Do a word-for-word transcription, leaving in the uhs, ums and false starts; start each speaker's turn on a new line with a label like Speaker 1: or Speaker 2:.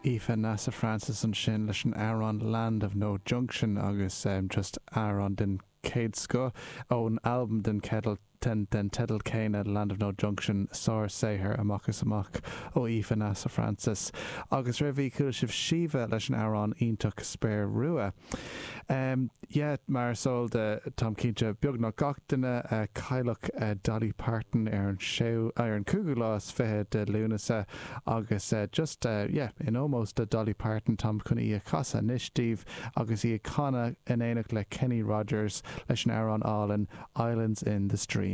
Speaker 1: Aoife Neasa Francis ansin leis an amhrán Land of No Junction agus um, just amhrán den chéad scoth ón albam den cedal den den teideal céanna Land of No Junction sársaothar amach is amach ó Aoife Neasa Francis. Agus roimhe chuala sibh Síomha leis an amhrán iontach Spéir Rua. Um, yeah, mar is eol de táim cinnte beagnach gach duine uh, cailleadh uh, Dolly Parton ar an séú ar an cúigiú lá is fiche de Lúnasa agus uh, just uh, yeah, in ómós do Dolly Parton táim chun í a chasadh anois daoibh agus í ag canadh in éineacht le Kenny Rogers leis an amhrán álainn Islands in the Stream.